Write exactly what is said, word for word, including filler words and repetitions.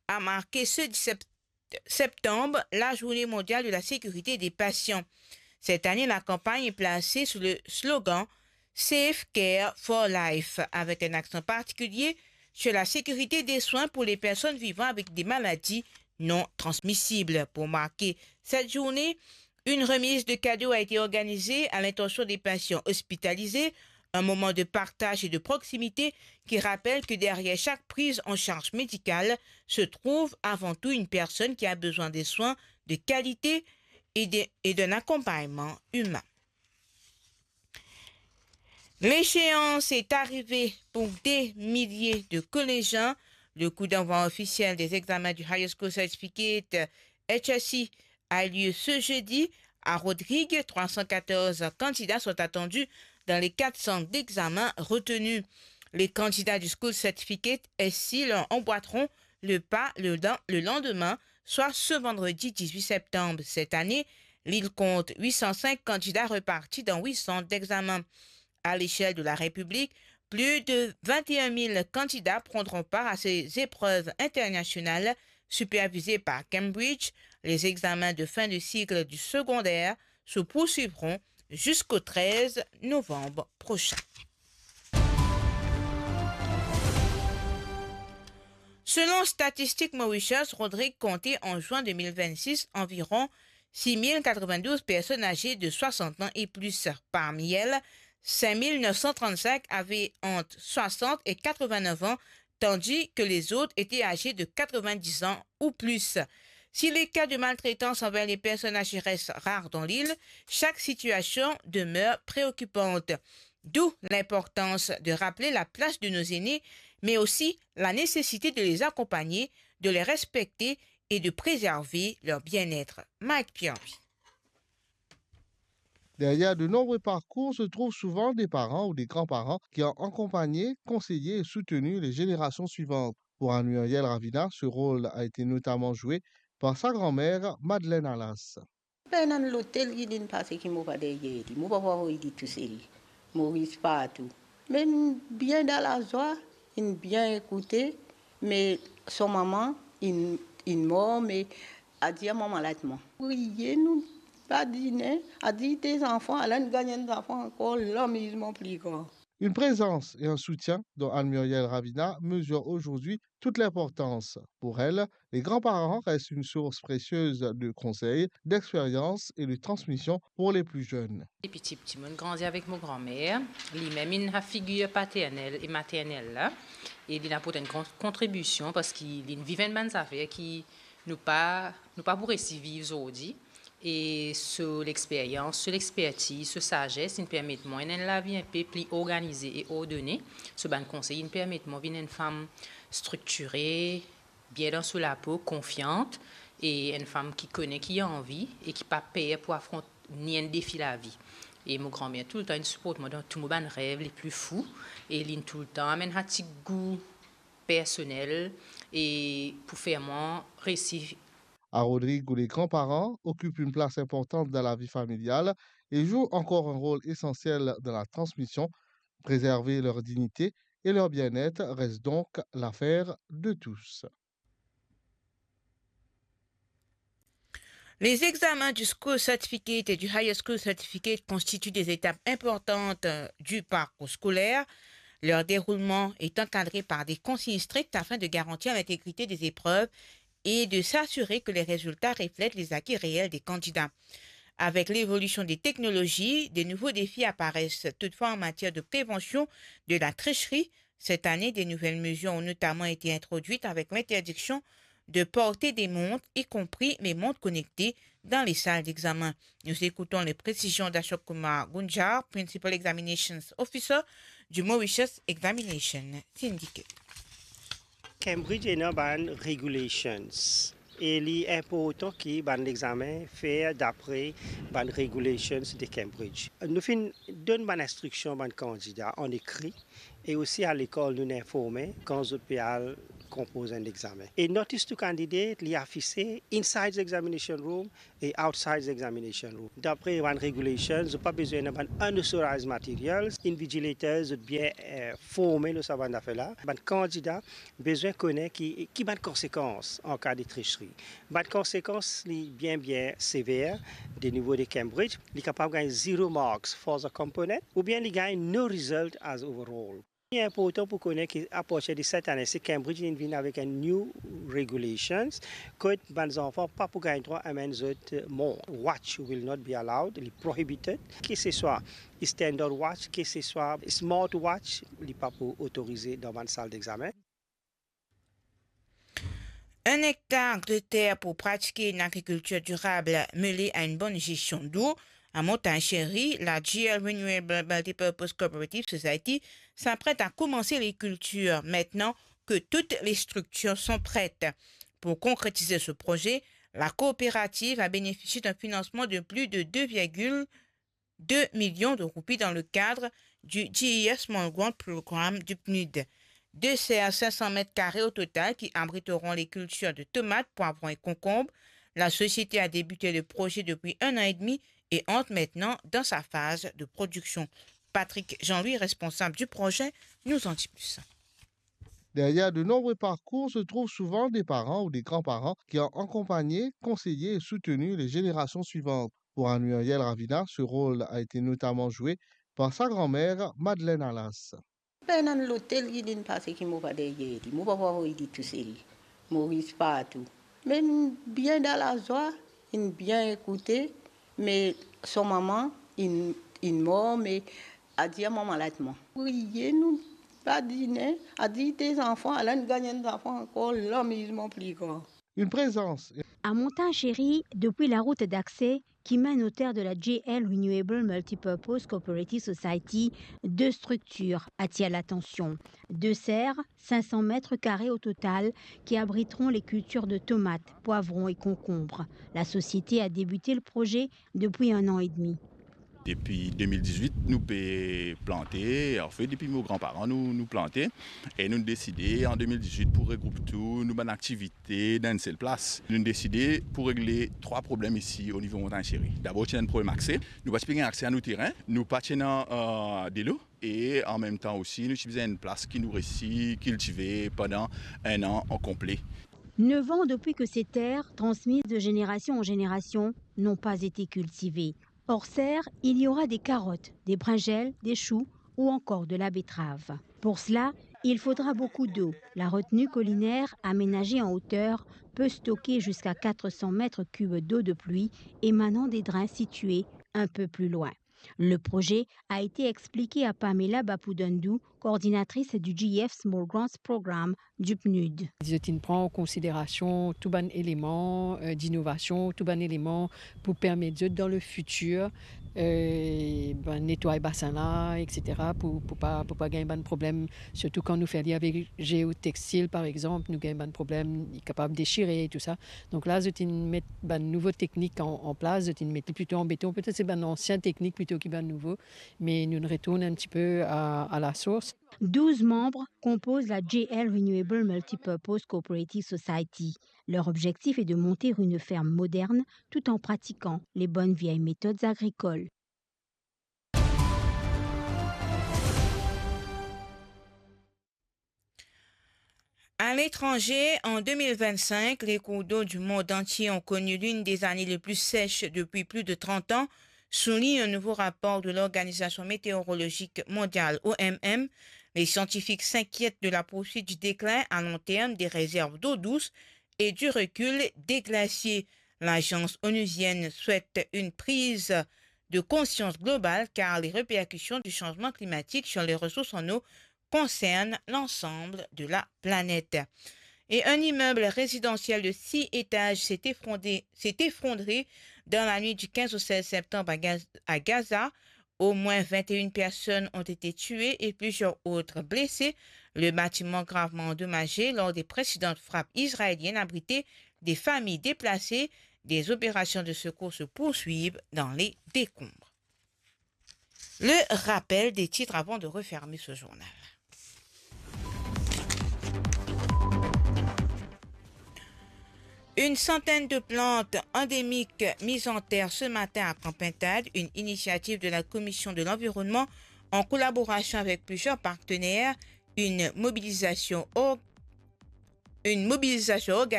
a marke se disep septanm, la Journée mondiale de la sécurité des patients. Cette année, la campagne est placée sous le slogan Safe Care for Life, avec un accent particulier sur la sécurité des soins pour les personnes vivant avec des maladies non transmissibles. Pour marquer cette journée, une remise de cadeaux a été organisée à l'intention des patients hospitalisés, un moment de partage et de proximité qui rappelle que derrière chaque prise en charge médicale se trouve avant tout une personne qui a besoin de soins de qualité et de, et d'un accompagnement humain. L'échéance est arrivée pour des milliers de collégiens. Le coup d'envoi officiel des examens du Higher School Certificate, H S C, a lieu ce jeudi. À Rodrigues, trois cent quatorze candidats sont attendus dans les quatre centres d'examen retenus. Les candidats du School Certificate S C leur emboîteront le pas le, le lendemain, soit ce vendredi dix-huit septembre. Cette année, l'île compte huit cent cinq candidats repartis dans huit centres d'examen. À l'échelle de la République, plus de vingt et un mille candidats prendront part à ces épreuves internationales supervisées par Cambridge. Les examens de fin de cycle du secondaire se poursuivront jusqu'au treize novembre prochain. Selon Statistiques Mauritius, Rodrigues comptait en juin deux mille vingt-six environ six mille quatre-vingt-douze personnes âgées de soixante ans et plus. Parmi elles, cinq mille neuf cent trente-cinq avaient entre soixante et quatre-vingt-neuf ans, tandis que les autres étaient âgés de quatre-vingt-dix ans ou plus. Si les cas de maltraitance envers les personnes âgées restent rares dans l'île, chaque situation demeure préoccupante. D'où l'importance de rappeler la place de nos aînés, mais aussi la nécessité de les accompagner, de les respecter et de préserver leur bien-être. Mike Pierre. Derrière de nombreux parcours se trouvent souvent des parents ou des grands-parents qui ont accompagné, conseillé et soutenu les générations suivantes. Pour Anne-Muriel Ravina, ce rôle a été notamment joué par sa grand-mère, Madeleine Alas. Pena lotel ki linn pase ki mo pa deryer li, mo pa pou avoy li tousel. Mo ris partou. Me inn bien dan lazwa, inn bien ekoute, me so mama inn, inn mor, me a dir mama la ti mor. Priye, nou badine, a dir de zanfan, ala inn gagn enn zanfan ankor, lamizman pli gran. Une présence et un soutien dont Anne-Muriel Ravina mesure aujourd'hui toute l'importance. Pour elle, les grands-parents restent une source précieuse de conseils, d'expérience et de transmission pour les plus jeunes. Depi tipti, mo'nn grandi avek mo granmer. Limem inn figir paternel e maternel la, e linn aport enn gran kontribision parski linn viv enn bann zafer ki nou pa, nou pa pou resi viv zordi. E so lexperyans, so lexpertiz, so sazes, inn permet mwa ena enn lavi inpe pli organize e ordone. So bann konsey inn permet mwa vinn enn fam striktire, bien dan so lapo, konfiant, e enn fam ki kone ki anvi e ki pa per pou afront ni enn defi lavi. E mo granmer toultan inn siport mwa dan tou mo bann rev le pli fou, e linn toultan amenn sa ti gou personel e pou fer mwa resi. À Rodrigues, où les grands-parents occupent une place importante dans la vie familiale et jouent encore un rôle essentiel dans la transmission, préserver leur dignité et leur bien-être reste donc l'affaire de tous. Les examens du School Certificate et du Higher School Certificate constituent des étapes importantes, euh, du parcours scolaire. Leur déroulement est encadré par des consignes strictes afin de garantir l'intégrité des épreuves et de s'assurer que les résultats reflètent les acquis réels des candidats. Avec l'évolution des technologies, de nouveaux défis apparaissent toutefois en matière de prévention de la tricherie. Cette année, de nouvelles mesures ont notamment été introduites avec l'interdiction de porter des montres, y compris les montres connectées, dans les salles d'examen. Nous écoutons les précisions d'Ashok Kumar Gunjar, Principal Examinations Officer du Mauritius Examination Syndicate. Cambridge ena bann regulations e li inportan ki bann lexamen fer dapre bann regulations de Cambridge. Nou finn donn bann instriksion bann kandida an ekri e osi a lekol nou informe kan zot pe al konpoz enn examen. E notice to candidate, li afise inside the examination room e outside the examination room. Dapre bann regulations, zot pa bizin ena bann unauthorized materials. Invigilators, zot bien, eh, forme lor sa bann zafer la. Bann kandida bizin kone ki, ki bann konsekans an ka de tricherie. Bann konsekans, li bien, bien sever, de nivo de Cambridge. Li kapav gagn zero marks for the component, oubien li gagn no result as overall. Li inportan pou kone ki apartir de set ane, si Cambridge inn vinn avek enn new regulations, kot bann zanfan pa pou gagn drwa amenn zot mont. Watch will not be allowed, li prohibited. Ki se swa standard watch, ki se swa smart watch, li pa pou otorize dan bann sal dexamen. Un hectare de terre pour pratiquer une agriculture durable mêlée à une bonne gestion d'eau. À Montagne Chérie, la G L Renewable Multipurpose Cooperative Society s'apprête à commencer les cultures maintenant que toutes les structures sont prêtes. Pour concrétiser ce projet, la coopérative a bénéficié d'un financement de plus de deux virgule deux millions de roupies dans le cadre du G E F Small Grant Program du P N U D. Deux serres cinq cents mètres carrés au total qui abriteront les cultures de tomates, poivrons et concombres. La société a débuté le projet depuis un an et demi et entre maintenant dans sa phase de production. Patrick Jean-Louis, responsable du projet, nous en dit plus. Derrière de nombreux parcours se trouvent souvent des parents ou des grands-parents qui ont accompagné, conseillé et soutenu les générations suivantes. Pour Anne-Murielle Ravina, ce rôle a été notamment joué par sa grand-mère, Madeleine Alas. Pena enn lotel ki linn pase ki mo pa deryer li, mo pa pou avoy li tousel. Mo ris partou. Me inn bien dan lazwa, inn bien ekoute, me so mama inn, inn mor, me adir mama la et mwa. Priye, nou badine, adir de zanfan, ala nou gagn enn zanfan ankor, lamizman pli gran. Une présence. À Montagne Chérie, depuis la route d'accès qui mène aux terres de la G L Renewable Multipurpose Cooperative Society, deux structures attirent l'attention. Deux serres, cinq cents mètres carrés au total, qui abriteront les cultures de tomates, poivrons et concombres. La société a débuté le projet depuis un an et demi. Depi de mil diz-wit, nou pe plante, anfet, depi mo granparan, nou, nou plante, e nou deside an de mil diz-wit pou regroup tou nou bann aktivite dan enn sel plas. Nou deside pou regle trwa problem isi o nivo Montagne Chérie. Dabor, ti ena enn problem akse. Nou pa ti pe gagn akse a nou terin, nou pa ti ena, euh, delo, e an mem tan osi, nou ti bizin enn plas ki nou resi kiltive pandan enn an an konple. Neuf ans depuis que ces terres, transmises de génération en génération, n'ont pas été cultivées. Hors serre, il y aura des carottes, des brinjelles, des choux ou encore de la betterave. Pour cela, il faudra beaucoup d'eau. La retenue collinaire aménagée en hauteur peut stocker jusqu'à quatre cents mètres cubes d'eau de pluie émanant des drains situés un peu plus loin. Le projet a été expliqué à Pamela Bapudandou, coordinatrice du G E F Small Grants Program du P N U D. Zot inn pran an konsiderasion tou bann eleman, euh, dinovasion, tou bann eleman pou permet zot dan le fitir, euh, bann netway basin la, et cetera, pou, pou pa, pou pa gagn bann problem, sirtou kan nou fer li avek Géotextile, par exanp, nou gagn bann problem, li kapav desire e tou sa. Donk la, zot inn met bann nouvo teknik an, an plas, zot inn met li plito an beton, petet se bann ansien teknik plito ki bann nouvo, me nou retourn enn tipe a, a la source. Douze membres composent la G L Renewable Multipurpose Cooperative Society. Leur objectif est de monter une ferme moderne tout en pratiquant les bonnes vieilles méthodes agricoles. À l'étranger, en deux mille vingt-cinq, les cours d'eau du monde entier ont connu l'une des années les plus sèches depuis plus de trente ans, souligne un nouveau rapport de l'Organisation météorologique mondiale, O M M. Les scientifiques s'inquiètent de la poursuite du déclin à long terme des réserves d'eau douce et du recul des glaciers. L'agence onusienne souhaite une prise de conscience globale car les répercussions du changement climatique sur les ressources en eau concernent l'ensemble de la planète. Et un immeuble résidentiel de six étages s'est effondré, s'est effondré dans la nuit du quinze au seize septembre à Gaz-, à Gaza. Au moins vingt et une personnes ont été tuées et plusieurs autres blessées. Le bâtiment gravement endommagé lors des précédentes frappes israéliennes abritait des familles déplacées. Des opérations de secours se poursuivent dans les décombres. Le rappel des titres avant de refermer ce journal. Une centaine de plantes endémiques mises en terre ce matin à Camp Pintade, une initiative de la Commission de l'Environnement en collaboration avec plusieurs partenaires, une mobilisation or-, une mobilisation